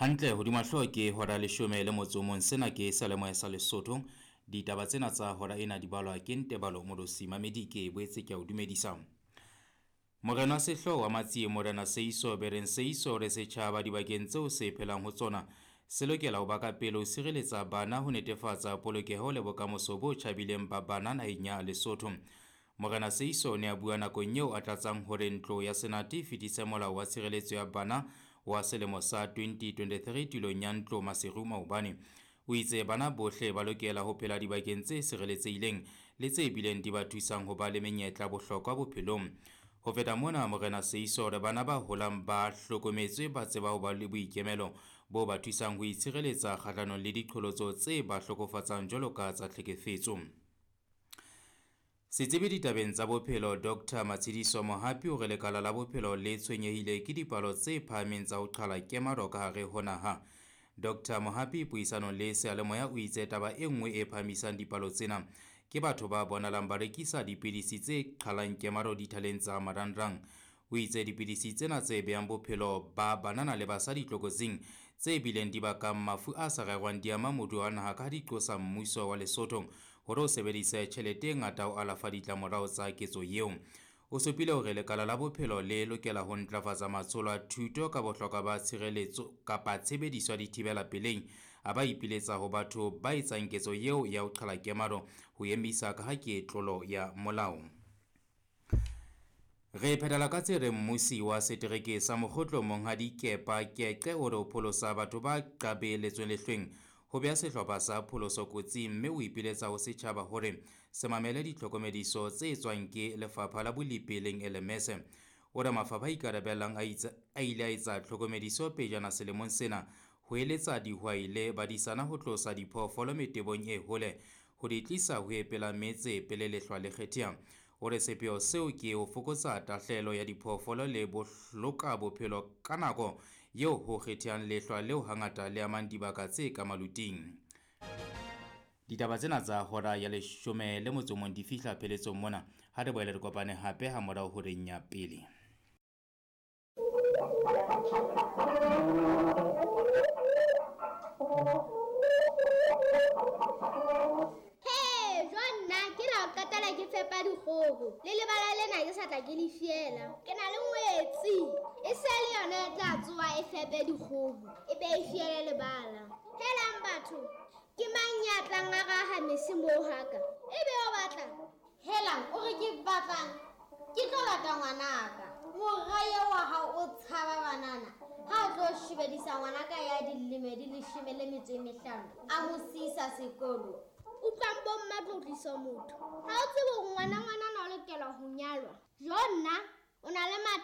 Hantle hodima hlooho ke hora leshome le motso o mong. Sena ke seyalemoya sa Lesotho. Ditaba tsena tsa hora ena di balwa ke Ntebalo Molosi Mamedi ke boetse ke a o dumedisa. Morena wa sehlooho wa Matsie Morena Seiso Bereng Seiso re setjhaba dibakeng tseo se phelang ho tsona se lokela ho ba ka pele ho sireletsa bana ho netefatsa polokeho le bokamoso bo tjhabileng ba bana naheng ya Lesotho. Morena Seiso o ne a bua nakong eo a tlatsang hore ntlo ya Senate e fetise molao wa tshireletso ya bana wa selemo sa 2023 tulong ya ntlo Maseru maobane. O itse bana bohle ba lokela ho phela dibakeng tse sireletsehileng le tse bileng di ba thusang ho ba le menyetla bohlokwa bophelong. Ho feta mona, Morena Seiso re bana ba holang ba hlokometswe ba tseba ho ba le boikemelo bo ba thusang ho itshireletsa kgahlanong le diqholotso tse ba hlokofatsang jwalo ka tsa tlhekefetso. Setsebi ditabeng tsa bophelo Dr Matshidiso Mohapi o re lekala la bophelo le tshwenyehile ke dipalo tse phahameng tsa ho qhala kemaro ka hare ho naha. Dr Mohapi puisanong le seyalemoya o itse taba e nngwe e phahamisang dipalo tsena ke batho ba bonalang ba rekisa dipidisi tse qhalang kemaro dithaleng tsa marangrang. O itse dipidisi tsena tse behang bophelo ba banana le basadi tlokotsing tse bileng di bakang mafu a sa rerwang di ama moruo wa naha ka ha di qosa mmuso wa Lesotho hore o sebedise tjhelete e ngata ho alafa ditlamorao tsa ketso eo. O supile hore lekala la bophelo le lokela ho ntlafatsa matsholo a thuto ka bohlokwa ba tshireletso kapa tshebediso ya dithibela pelei, a ba ipiletsa ho batho ba etsang ketso eo ya ho qhala kemaro ho emisa ka ha ke tlolo ya molao. Re phethela ka tse reng mmusi wa setereke sa Mokgotlo Monghadi Kepa Keqe o re ho pholosa batho ba qabeletsweng lehlweng ho beha sehlopha sa pholoso kotsing, mme o ipiletsa ho setjhaba hore se mamele ditlhokomediso tse tswang ke lefapha la bolipi leng LMS. O re mafapha a ikarabellang a ile a etsa tlhokomediso pejana selemong sena ho eletsa dihwai le badisana ho tlosa diphoofolo metebong e hole ho di tlisa ho epela metse pele lehlwa le kgetheha. O re sepheo seo ke ho fokotsa tahlehelo ya diphoofolo le bohloka bophelo ka nako eo ho kgethehang lehlwa leo hangata le amang dibaka tse ka maluting. Ditaba tsena tsa hora ya leshome le motso o mong di fihla pheletsong mona. Ha re boele re kopane hape ha morao horeng ya pele. He, jwa nna ke la ho qetela ke fepa dikgoho. Le lebala lena ke sa tla ke le fiela. Ke na le ngwetsi. E se le yona e tla tsoha e fepe dikgoho. E be e fiele lebala. Helang batho, ke mang ya tlang a raha mese moo haka? E be o batla? Helang, o re ke batlang? Ke tlo lata ngwanaka. Mora eo wa hao o tshaba banana. Ha o tlo shebedisa ngwanaka ya dilemo di 15, a mo siisa sekolo. Utlwang bo mma tlo tlisa motho. Ha o tsebe hore ngwana